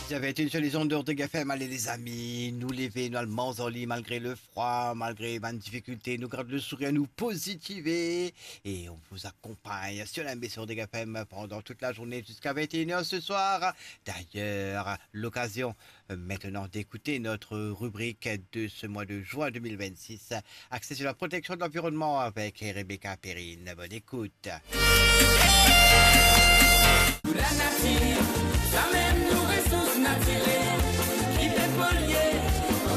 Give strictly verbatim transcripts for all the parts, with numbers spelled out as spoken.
Vous avez été sur les ondes d'Ortega F M. Allez, les amis, nou leve, nou al manz ar li, malgre lefrwa, malgre bann difikilte, nou gard le sourir, nou pozitivize, et on vous accompagne sur la, sur Ortega F M pendant toute la journée jusqu'à vingt et une heures ce soir. D'ailleurs, l'occasion, euh, maintenant d'écouter notre rubrique de ce mois de juin deux mille vingt-six, axée sur la protection de l'environnement avec Rebecca Perrine. Bonne écoute. Pou lanatir, samem nou resours natirel ki pe polye,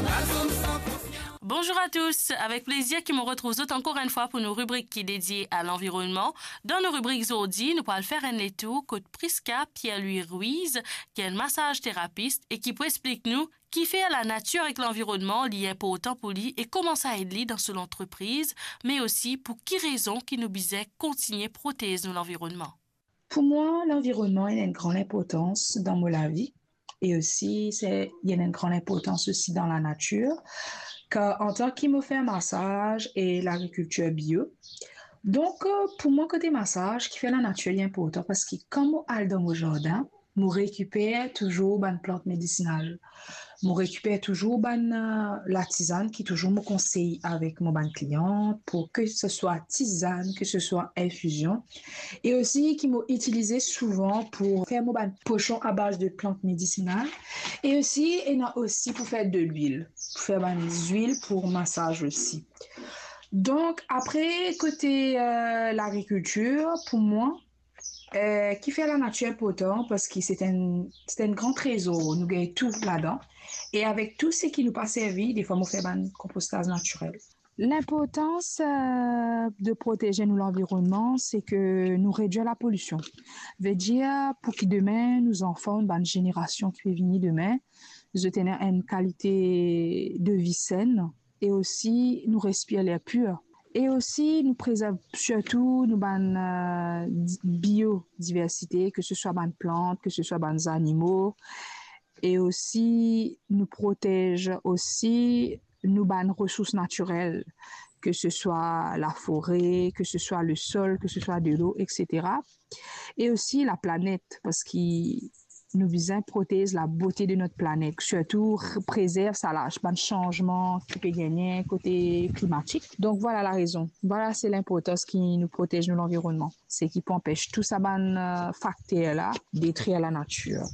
dan zone san pour cent. Bonjour à tous, avec plaisir ki mo retrouv zot ankor enn fwa pou nou ribrik ki dedie a lanvironnman. Dan nou ribrik zordi, nou pou al fer enn letour kot Prisca Pierre-Louis Ruiz, ki enn masaz terapis e ki pou explik nou kifer lanatir ek lanvironnman li inportan pou li e kouma sa ed li dan so lantrepriz, me osi pou ki rezon ki nou bizin kontigne protez nou lanvironnman. Pou mwa, lanvironnman ena enn gran inportans dan mo lavi e osi se, li ena enn gran inportans osi dan lanatir, kar antan ki mo fer masaz e lagrikiltir bio, donk, euh, pou mwa, kote masaz, kifer lanatir li inportan, parski kan mo al dan mo zardin, mo rekiper touzour bann plant medisinal. Mo rekiper touzour bann, euh, latizann ki touzour mo konsey avek mo bann klian, pou ke se swa tizann, ke se swa infizion, e osi ki mo itilize souvan pou fer mo bann posion a baz de plant medisinal, e osi, ena osi pou fer delwil, pou fer bann zwil pou masaz osi. Donk, apre, kote, euh, lagrikiltir, pou mwa, euh, kifer lanatir inportan, parski se enn, se enn gran trezor, nou gagn tou ladan. E avek tou seki nou pa servi, defwa mo fer bann konpostaz natirel. Linportans, euh, de protez nou lanvironnman, se ke nou redwir lapolision. Vedir, pou ki demin, nou zanfan, bann zenerasion ki pe vini demin, zot ena enn kalite de vi sen, e osi nou respir ler pir. E osi nou prezerv sirtou nou bann, euh, di-, biodiversite, ke se swa bann plant, ke se swa bann zanimo, e osi nou protez osi nou bann resours natirel, ke se swa lafore, ke se swa lesol, ke se swa delo, et cetera. E osi laplanet, parski nou bizin protez labote de not planet, sirtou r-, prezerv sa la, bann sanzman ki pe gagne kote klimatik. Donk, vwala larezon. Vwala, se linportans ki nou protez nou lanvironnman. Se ki pou anpes tou sa bann, euh, fakter la detrir lanatir.